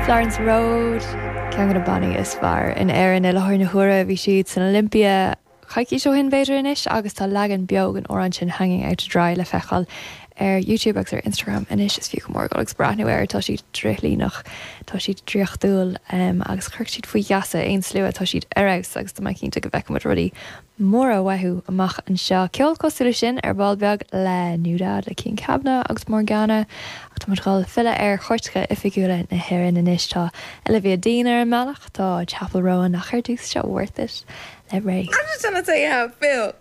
Florence Road, ceann de na bannaí is fearr in Éirinn i láthair na huaire. Bhí siad san Olympia coicís ó shin b'fhéidir anois agus tá leagan beo den amhrán sin Hanging Out To Dry le feiceáil ar YouTube agus ar Instagram anois. Is fiú go mór dul agus breathnú air, tá siad drithlíneach, tá siad draíochtúil agus chuirfeadh siad faoi gheasa aon slua, tá siad ar fheabhas agus tá mé cinnte go bhfeicfidh muid rudaí móra uathu amach anseo. Ceol cosúil leis sin ar ball beag le NewDad, le Cian Kavanagh agus Morgana. Ach tá muid ag dul filleadh ar chairteacha oifigiúla na hÉireann anois. Tá Olivia Dean ar an mbealach, tá Chappell Roan ach ar dtús seo Worth It le Raye. I'm just trying to tell you how I feel.